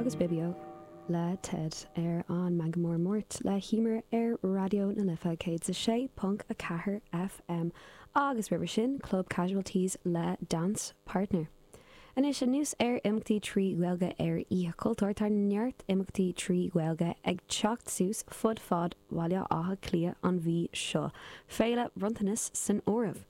Agus Bibio le Ted ar an Meangadh Mór Máirt le hEmer ar Raidió na Life 106.4 FM agus roimhe sin Club Casualties le Dance Partner. Anois, anuas ar imeachtaí trí Ghaeilge ar Oíche Chultúir, tá neart imeachtaí trí Ghaeilge ag teacht suas fud fad Bhaile Átha Cliath an mhí seo, Féile Bronntanas san áireamh.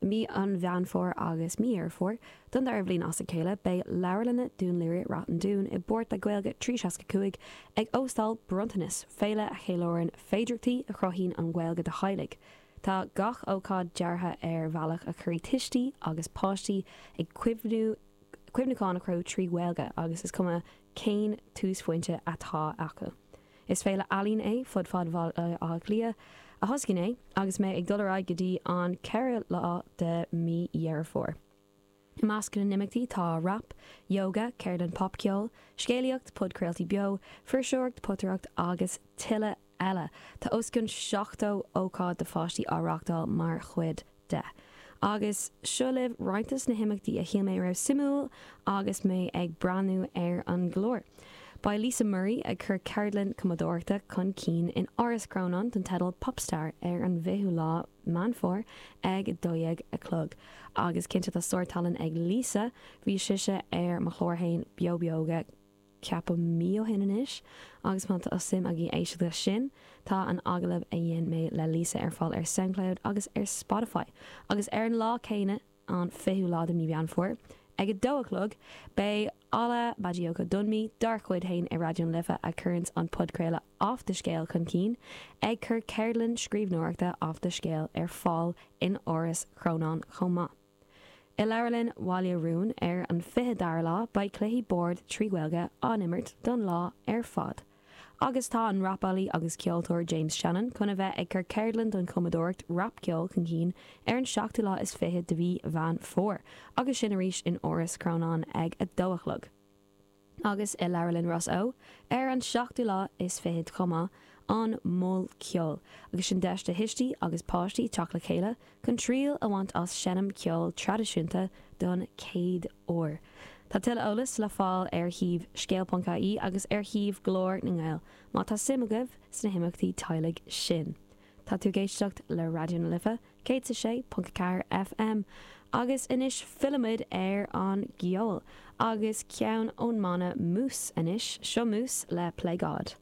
I mí an Mheán Fómhair agus mí Dheireadh Fómhair, don dara bhliain as a chéile, beidh Leabharlanna Dún Laoghaire Rath an Dúin i bpáirt le Gaeilge 365 ag óstáil Bronntanas, féile a cheiliúrann féidearthachtaí a chruthaíonn an Ghaeilge do theaghlaigh. Tá gach ócáid deartha ar bhealach a chuirfidh tuistí agus páistí ag cuimhniú cuimhneacháin a chruthú trí Ghaeilge agus is cuma cén túsphointe atá acu. Is féile ealaíon é fud fad Bhaile Átha Cliath a thosaigh inné agus mbeidh ag dul ar aghaidh go dtí an 4ú lá de mí Dheireadh Fómhair. I measc na n-imeachtaí tá rap, yoga, ceardlann popcheoil, scéalaíocht, podchraoltaí beo, fuirseoireacht, potaireacht agus tuilleadh eile. Tá os cionn 70 ócáid do pháistí á reáchtáil mar chuid de. Agus seo libh roinnt des na himeachtaí a shíl mé a raibh suimiúil agus mé ag breathnú ar an gclár. Beidh Lisa Murray ag cur ceardlann cumadóireachta chun cinn in Áras Chrónáin den teideal Popstar ar an bhfichiú lá Meán Fómhair ag 12 a chlog. Agus cinnte tá sár-tallann ag Lisa, bhí sise ar mo chlár fhéin Beo Beoga ceapaim mí ó shin anois agus má tá suim agaibh éisteacht leis sin, tá an agallamh a dhein mé le Lisa ar fáil ar Soundcloud agus ar Spotify. Agus ar an lá céanna, an 20ú lá de mí Mheán Fómhair, ag a dó a chlog, beidh Ola Bajioka-Dunmi, dár chuid fhéin ar Raidió na Life a chuireanns an podchraoladh Off the Scéal chun cinn, ag cur ceardlann scríbhneoireachta Off the Scéal ar fáil in Áras Chrónáin chomh maith. I Leabharlann Bhaile Rúin ar an 22ú lá beidh cluichí boird trí Ghaeilge á n-imirt don lá ar fad. Agus tá an rapálaí agus ceoltóir James Shannon chun a bheith ag cur ceardlann don chumadóireacht rapcheoil chun cinn ar an seachtú lá is fichead de mhí Mheán Fómhair agus sin arís in Áras Chrónáin ag a dó a chlog. agus i Leabharlann Ros Eo ar an seachtú lá is fichead chomh maith, an Mol Ceoil, agus sin deis do thuistí agus páistí teacht le chéile chun triail a bhaint as seinm ceoil traidisiúnta don chéad uair. Tá tuilleadh eolais le fáil ar shuíomh scéal.ie agus ar shuíomh Ghlór na nGael má tá suim agaibh sna himeachtaí teaghlaigh sin. Tá tú ag éisteacht le Raidió na Life 106.4 FM agus anois fillimid ar an gceol agus ceann ón mbanna Mús anois, seo Mús le Play God.